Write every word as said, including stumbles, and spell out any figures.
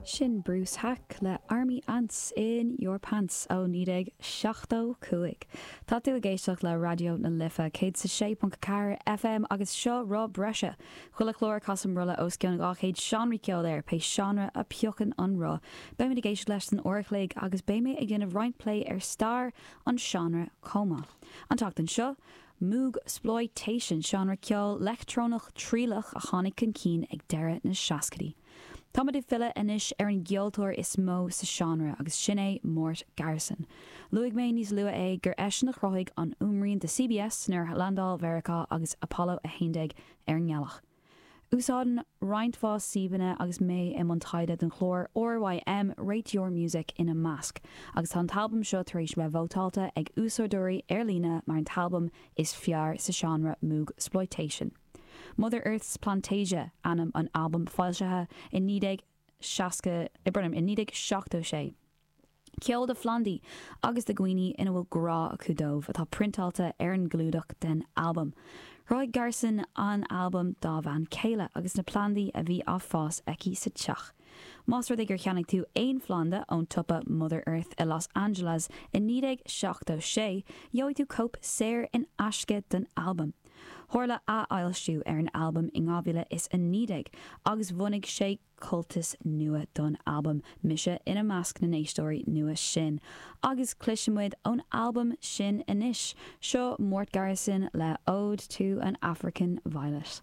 Sin Bruce Haack le Army Ants in Your Pants ó naoi déag seachtó cúig. Tá tú ag éisteacht le Raidió na Life céad is a sé ponc ceathair FM agus seo Roth Breise. Chuile chlár casaim rolla os cionn dhá chéad seánraí ceoil air pé seánra a phiocann an roth. Beimid ag éisteacht leis san uair a chloig agus beidh mé ag déanamh roinnt plé ar stair an seánra chomh maith. An tseachtain seo, Moogsploitation seánra ceoil leictreonach trialach a tháinig chun cinn ag deireadh na seascaidí. Táimid ag filleadh anois ar an gceoltóir is mó sa seánra agus sin é Mort Garson. Luaigh mé níos luaithe é gur eisean a chruthaigh an fhuaimrian do CBS nuair a landáil Mheiriceá agus Apollo a haon déag ar an ngealach. Úsáidim roinnt mhaith suíomhanna agus mé i mbun taighde don chlár RYM Rate Your Music ina measc, agus tá an t-albam seo tar éis bheith vótáilte ag úsáideoirí ar líne mar an t-albam is fearr sa seánra Moogsploitation. Mother Earth's Plantasia ainm an albaim foilsithe i naoi déag seasca i i naoi déag seachtó sé. Ceol do phlandaí agus do dhaoine ina bhfuil grá acu dóibh atá priontáilte ar an gclúdach den albam. Chruthaigh Garson an albam dá bhean chéile agus na plandaí a bhí á fás aici sa teach. Más rud é gur cheannaigh tú aon phlanda ón tsiopa Mother Earth i Los Angeles i naoi déag seachtó sé, gheobhaidh tú cóip saor in aisce den albam. Tharla athfhoilsiú ar an albam in dhá mhíle is a naoi déag agus bhunaigh sé cultas nua don albam mise ina measc na n-éisteoirí nua sin. Agus cloisfimid ón albam sin anois, seo Mort Garson le Ode to an African Violet.